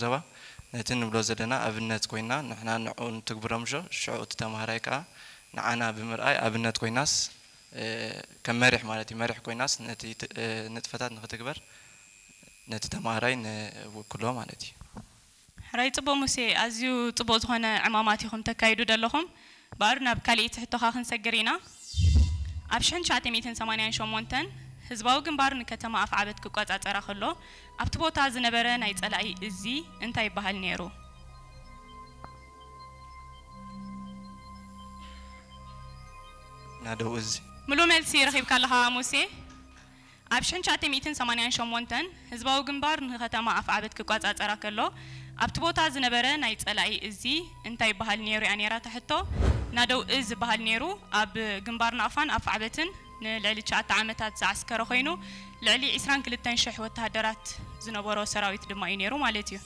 ዞባ ነቲ ንብሎ ዘለና ኣብነት ኮይና ንሕና ንዕኡ ንትግብሮ ምሾ ሽዑ እቲ ተምሃራይ ከዓ ንዓና ብምርኣይ ኣብነት ኮይናስ ከም መሪሕ ማለት እዩ መሪሕ ኮይናስ ነቲ ንጥፈታት ንክትግበር ነቲ ተምሃራይ ንውክሎ ማለት እዩ። ሕራይ ጽቡቕ ሙሴ፣ ኣዝዩ ጽቡቕ ዝኾነ ዕማማት ኢኹም ተካይዱ ዘለኹም። ባር ናብ ካልኣይቲ ሕቶኻ ክንሰግር ኢና። ኣብ ሽሕን ትሽዓተ ሚእትን ሰማንያን ሸሞንተን ህዝባዊ ግንባር ንከተማ ኣፍዓበት ክቆጻጸራ ከሎ ኣብቲ ቦታ ዝነበረ ናይ ጸላኢ እዚ እንታይ ይበሃል ነይሩ? ናደው እዚ ምሉ መልሲ ረኺብካ ኣለኻ ሙሴ። ኣብ ሽሕን ትሽዓተ ሚእትን ሰማንያን ሸሞንተን ህዝባዊ ግንባር ንከተማ ኣፍዓበት ክቋጻጸራ ከሎ ኣብቲ ቦታ ዝነበረ ናይ ጸላኢ እዚ እንታይ ይበሃል ነይሩ እያ ነይራ እታ ሕቶ። ናደው እዚ ዝበሃል ነይሩ ኣብ ግንባር ናቕፋን ኣፍዓበትን ንልዕሊ ትሽዓተ ዓመታት ዝዓስከረ ኮይኑ ልዕሊ ዕስራን ክልተን ሽሕ ወተሃደራት ዝነበሮ ሰራዊት ድማ እዩ ነይሩ ማለት እዩ።